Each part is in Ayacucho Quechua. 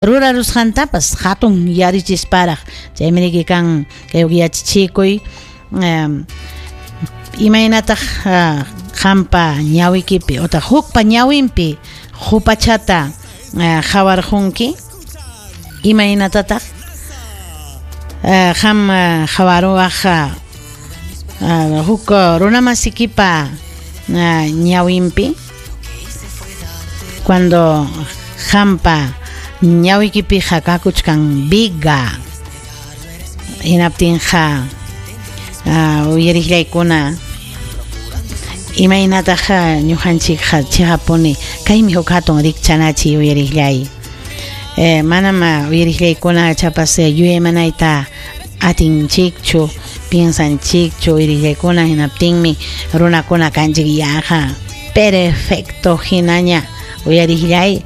Rurarusqantapas hatun yarichisparaq chaymi riki kan kay yachachichikuy imaynataq qampa ñawikipi otaq hukpa ñawinpi qupachata qawarqunki imaynatataq qam qawaruwaq huk runamasikipa ñawinpi cuando qampa ñawikipiqa kakuchkan viga hinaptinqa uyariqllaykuna imaynataq ñuqanchikqa chiqapuni kaymi huk hatun rikchanachiy uyariqllay manam uyariqllaykuna chapas yuyaymanayta atinchikchu piensanchikchu uyariqllaykuna hinaptinmi runakuna kanchik yaqa perfecto hinaña uyariqllay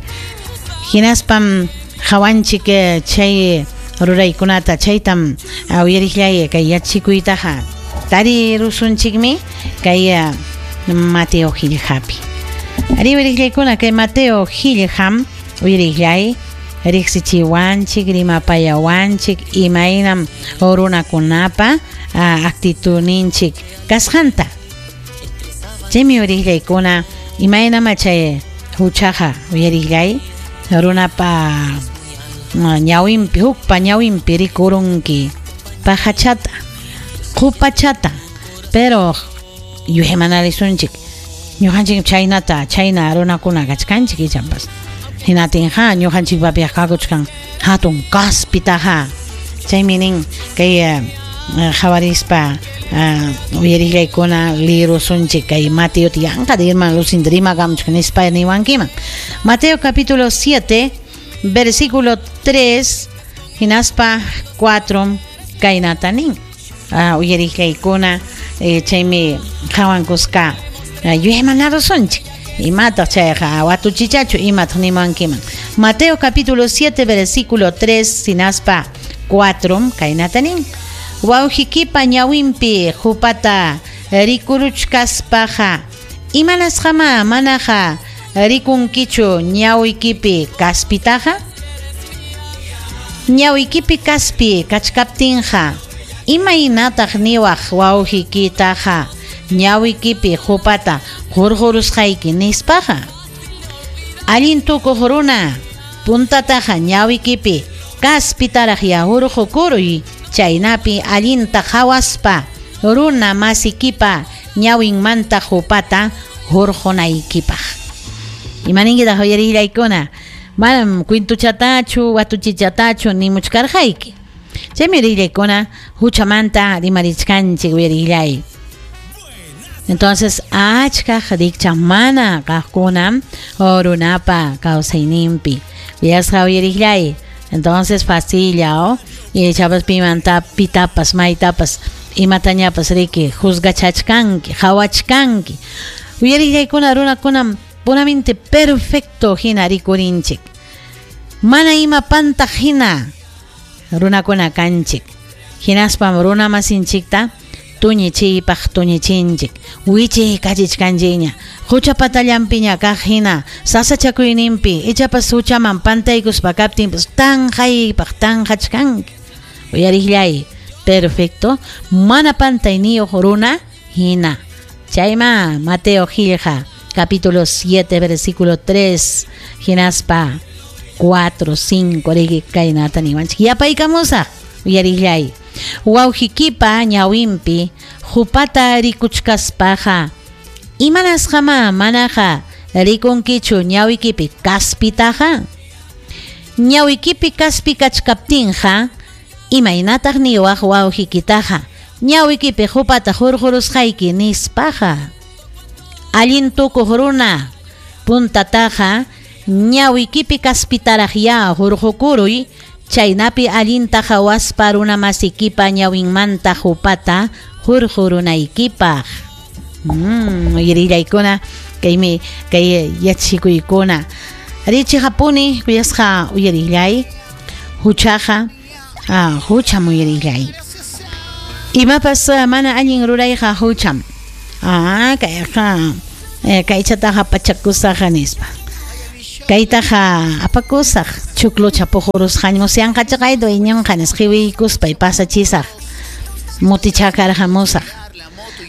hinaspam qawanchik chay ruraykunata chaytam uyariqllay kay yachachikuytaqa tarirusunchikmi kay Mateo qillqapi. Arí uyariqllaykuna kay Mateo qillqam uyariqllay riqsichiwanchik rimapayawanchik imaynam runakunapa actitudninchik kasqanta. Chaymi uyariqllaykuna imaynam chay huchaqa uyariqllay runapa ñawinpi hukpa ñawinpi rikurunki pajachata qupachata pero yuyaymanarisunchik ñuqanchik chaynata chayna runakuna kachkanchik ichapas hinatinqa ñuqanchikpapiqa kakuchkan hatun kaspitaqa chaymi nin kay qhawarispa uyariqllaykuna lirusunchik kay Mateo yanqa hermano Lucinda rimakamuchkan nispa niwankiman. Mateo capítulo 7 versículo 3 hinaspa 4 kaynata nin uyariqllaykuna chaymi qhawankusqa yuyaymanarasunchik imataq chayqa watuchichachu imataq nimankiman. Mateo capítulo 7 versículo 3 hinaspa 4 kaynata nin wawqikipa ñawinpi qupata rikuruchkaspaqa imanasqama manaqa rikunkichu ñawikipi kaspitaqa ñawikipi kaspi kachkaptinqa imaynataq niwaq wawqikitaqa ñawikipi qupata hurqurusqayki nispaqa allin tukuq runa puntataqa ñawikipi kaspitaraq ya hurqukuruy chaynapi allinta qhawaspa runa masikipa ñawinmanta qupata hurqunaykipaq. Imaninkitaq uyarillaykuna manam kwintuchatachu watuchichatachu nimuchkarqayki chaymi uyarillaykuna huchamanta rimarichkanchik uyarillay. Entonces achkaq rikchaq mana kaqkuna runapa kawsayninpi uyasqa uyarillay. Entonces facilla ichapas pimanta pitapas maytapas imatañapas riki juzgachachkanki qhawachkanki uyarillaykuna runakunam puramente perfecto hina rikurinchik mana ima pantaq hina runakuna kanchik hinaspam runa masinchikta tuñichiypaq tuñichinchik wichiykachichkanchikña hucha patallanpiña kaq hina sasachakuyninpi ichapas huchaman pantaykuspa kaptinpas tanqaypaq tanqachkanki uyariqllay perfecto mana pantayniyuq runa hina chayma Mateo qillqa capítulo 7 versículo 3 hinaspa 4 5 riki kaynata niwanchik yapaykamusaq uyariqllay wawqikipa ñawinpi qupata rikuchkaspaqa imanasqama manaqa rikunkichu ñawikipi kaspitaqa ñawikipi kaspi kachkaptinqa imaynataq niwaq wawqikitaqa ñawikipi qupata hurqurusqayki nispaqa allin tukuq runa puntataqa ñawikipi kaspitaraq ya hurqukuruy chaynapi allinta qhawaspa runa masikipa ñawinmanta qupata hurqurunaykipaq. Uyarillaykuna kaymi kay yachachikuykuna richiqapuni kuyasqa uyarillay huchaqa hucham uyarillay imapas mana allin rurayqa hucham kayqa kaychataqa pachakusaq nispa kaytaqa apakusaq Chuklucha puqurusqañ musyanqachaqay dueñonqa nispa qiwiykuspay pasachisaq mutichakarqamusaq.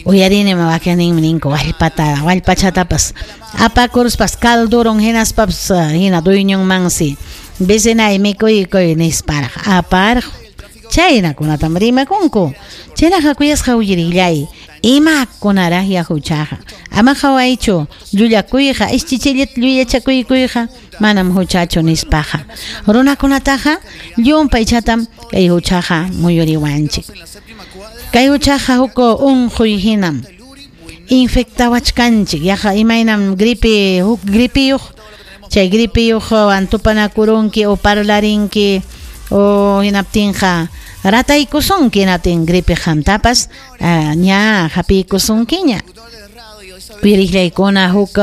Uyarinim wakinninmi ninku wallpata wallpachatapas apakuruspas caldurun hinaspapas hina dueñonmansi vecinay mikuykuy nisparaq aparqun. Chaynakunatam rimakunku. Chaynaqa kuyasqa uyarillay imakunaraqya huchaqa. Ama qawaychu llullakuyqa ischichillata llullachakuyqa manam huchachu nispaqa. Runakunataqa llumpaychatam kay huchaqa muyuriwanchik. Kay huchaqa huk unquy hinam infectawachkanchik yaqa imaynam gripe huk gripiyuq chay gripiyuqwan tupanakurunki o parlarinki o hinaptinqa rataykusunki hinaptin gripe qamtapas ña hapiykusunkiña. Uyariqllaykuna huk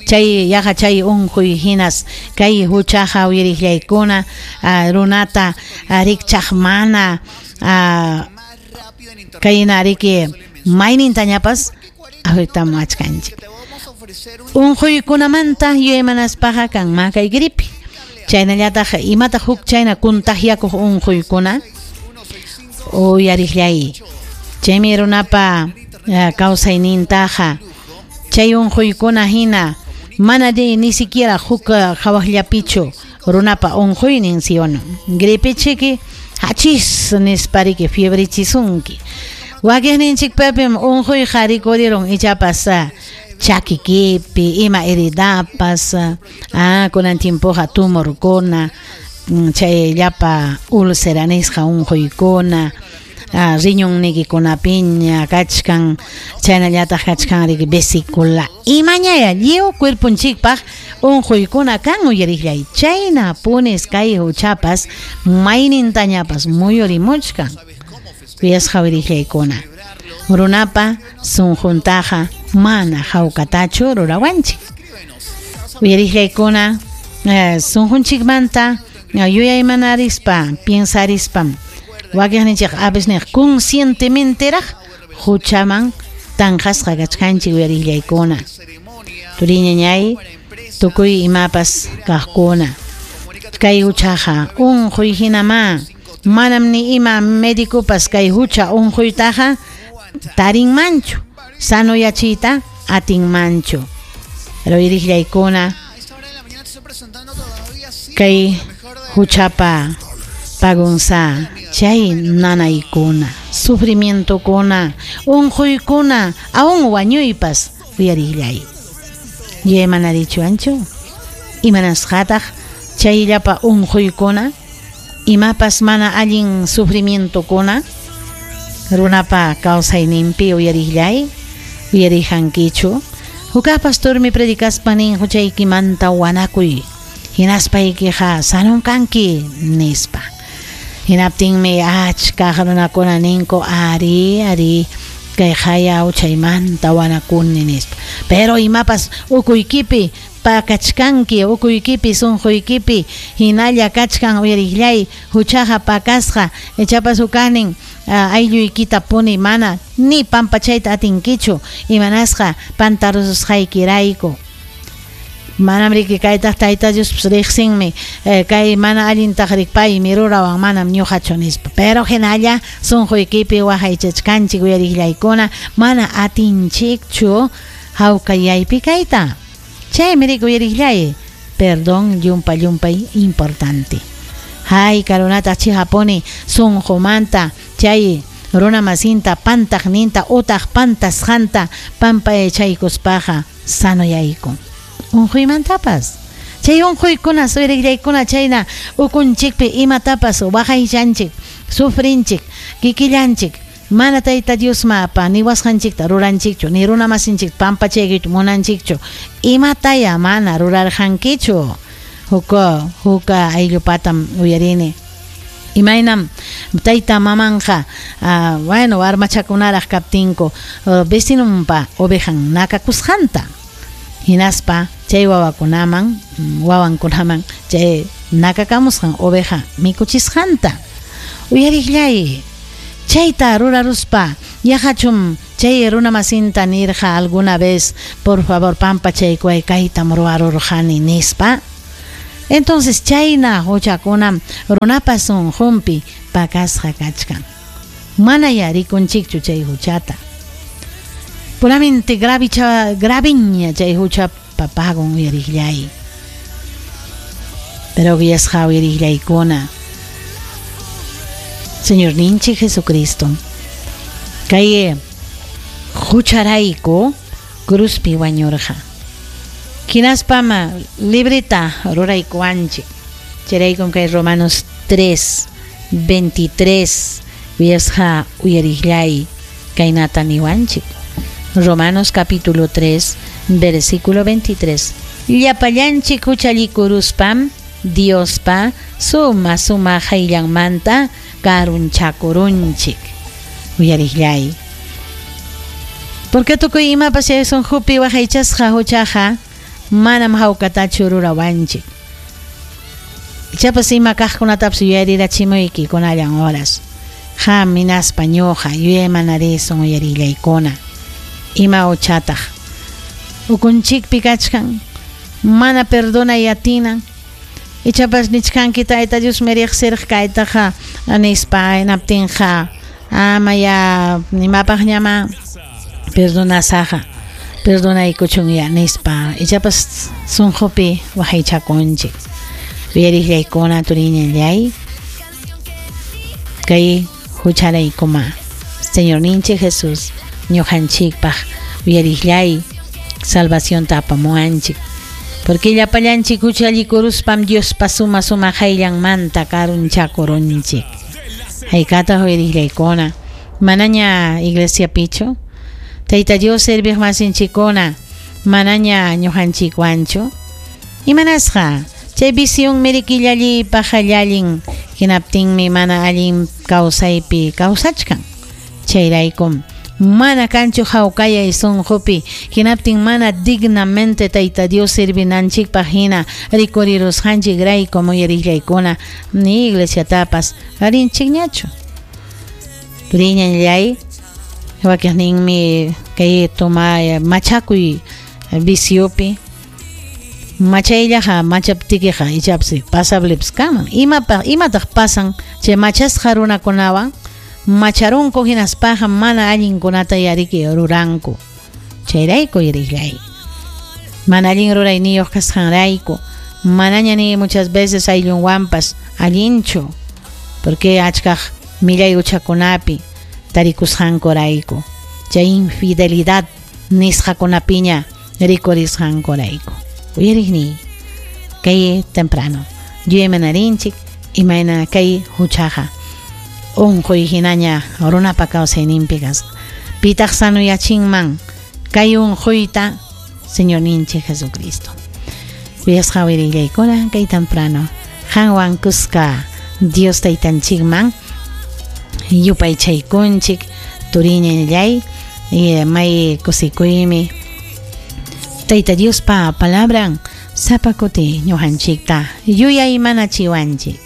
chay yaqa chay unquy hinas kay huchaqa uyariqllaykuna runata rikchaq mana kayna riki maynintañapas afectamuwachkanchik. Unquykunamanta yuyaymanaspaqa kanman kay gripe. Chaynallataq imataq huk chayna contagiakuq unquykuna uyariqllay. Chaymi runapa kawsaynintaqa chay unquykuna hina mana ni siquiera huk hawaqllapichu runapa unquynin si o no. Gripe chiki hachis nispariki fiebrichisunki. Wakiqninchikpapim unquyqa rikurirun ichapas chakikipi ima heridapas kunan tiempoqa tumorkuna chay llapa úlcera nisqa unquykuna riñonnikikunapiña kachkan chaynallataq kachkan riki vesícula imañaya lliw cuerponchikpaq unquykuna kan uyariqllay chayna punis kay huchapas maynintañapas muyurimuchkan. Kuyasqa uyariqllaykuna runapa sunquntaqa mana hawkatachu rurawanchik. Uyariqllaykuna sunqunchikmanta yuyaymanarispa piensarispam wakiqninchik a veces niq conscientementeraq huchaman tanqasqa kachkanchik uyariqllaykuna. Turiñañay tukuy imapas kaqkuna kay huchaqa unquy hinamá manam ni ima médicopas kay hucha unquytaqa tarinmanchu sanoyachiyta atinmanchu. Pero uyariqllaykuna kay huchapa pagunsa chay nanaykuna sufrimientokuna unquykuna aún wañuypas uyariqllay. Yuyaymanarichuwanchu imanasqataq chay llapa unquykuna imapas mana allin sufrimientokuna runapa kawsayninpi uyariqllay uyariqankichu. Hukaq pastormi predicaspa nin huchaykimanta wanakuy hinaspaykiqa sanon kanki nispa. Hinaptinmi achka runakuna ninku ari ari kay haya huchaymanta wanakuni nispa. Pero imapas ukuykipi pakachkanki ukuykipi sunquykipi hinalla kachkan uyariqllay huchaqa pakasqa ichapas hukaqnin aylluykita puni mana ni pampachayta atinkichu imanasqa pantarususqaykirayku. Manam riki kaytaq Tayta Diospas riqsinmi kay mana allintaq rikpaymi rurawan manam ñuqachu nispa. Pero hinalla sunquykipi waqaychachkanchik uyariqllaykuna mana atinchikchu hawkayaypi kayta. Chaymi riki uyariqllay perdón llumpa llumpay importante. Hay karunataq chihapuni sunqumanta chay runamasinta pantaqninta utaq pantasqanta pampachaykuspaqa sanoyaykun. Unquymantapas chay unquykuna suyriqllaykuna chayna ukunchikpi imatapas waqaychanchik sufrinchik kikillanchik mana Tayta Diosmapa niwasqanchikta ruranchikchu ni runamasinchikta pampachaykichu munanchikchu imataya mana rurarqankichu. Huk ayllupatam uyarini imaynam tayta mamanqa bueno warmachakunaraq kaptinku vecinonpa ovejan nakakusqanta hinaspa chay wawakunaman wawankunaman chay nakakamusqan oveja mikuchisqanta. Uyariqllay chayta ruraruspa yaqachum chay runamasinta nirqa alguna vez por favor pampachaykuway kaytam ruwarurqani nispa. Entonces chayna huchakunam runapa sunqunpi pakasqa kachkan. Manaya rikunchikchu chay huchata. Puramente graviña chay huchapa pagon uyariqllay. Pero kuyasqa uyariqllaykuna, Señor ninchik Jesucristo kay hucharayku cruzpi wañurqa. Hinaspam libreta ruraykuwanchik. Chayraykum kay Romanos 3:23 kuyasqa uyariqllay kaynata niwanchik. Romanos capítulo 3, versículo 23. Llapallanchik huchallikuruspam Diospa suma suma hayllanmanta karunchakurunchik. Uyariqllay. Porque tukuy imapas chay sunqupi waqaychasqa huchaqa manam hawkatachu rurawanchik. Ichapas ima kaqkunatapas yuyarirachimuykikunalan horas. Qam hinaspa ñuqa yuyaymanarisun uyarillaykuna. Ima huchataq ukunchikpi kachkan mana perdonay atinan. Ichapas nichkanki Tayta Dios riqsirqa kaytaqa nispa hinaptinqa ama ya imapaqñama perdonasaqa perdonaykuchunya nispa ichapas sunqupi waqaychakunchik. Uyariqllaykuna turiñallay kay hucharaykuma Señor ninchik Jesús ñuqanchikpaq uyariqllay salvacionta apamuwanchik. Porque llapallanchik huchallikuruspam Diospa suma suma hayllanmanta karunchakurunchik. Haykataq uyariqllaykuna manaña iglesiapichu Tayta Dios serviq masinchikkuna manaña ñuqanchikwanchu. Imanasqa chay visión mirikillallipaq allin hinaptinmi mana allin kawsaypi kawsachkan. Chayraykum mana kanchu hawkayay sunqupi hinaptin mana dignamente Tayta Dios servinanchikpaq hina rikurirusqanchikraykum uyariqllaykuna ni iglesiatapas rinchikñachu. Turiñallay wakiqninmi kay toma machakuy viciopi machayllaqa machaptikiqa ichapsi pasablepas kanman. Imataq pasan chay machasqa runakunawan macharunku hinaspaqa mana allinkunata yariki ruranku. Chayrayku yariqllay. Mana allin rurayniyuq kasqanrayku manaña ni muchas veces ayllunwanpas allinchu porque achkaq millay huchakunapi tarikusqankurayku chay infidelidad nisqakunapiña rikurisqankurayku. Uyariqniy kay temprano yuyaymanarinchik imayna kay huchaqa unquy hinaña runapa kawsayninpi kasqa. Pitaq sanuyachinman kay unquyta Señor ninchik Jesucristo. Kuyasqa uyarillaykuna kay temprano qanwan kuska Dios taytanchikman yupaychaykunchik turiñallay may kusikuymi Tayta Diospa palabran sapa kuti ñuqanchikta yuyaymanachiwanchik.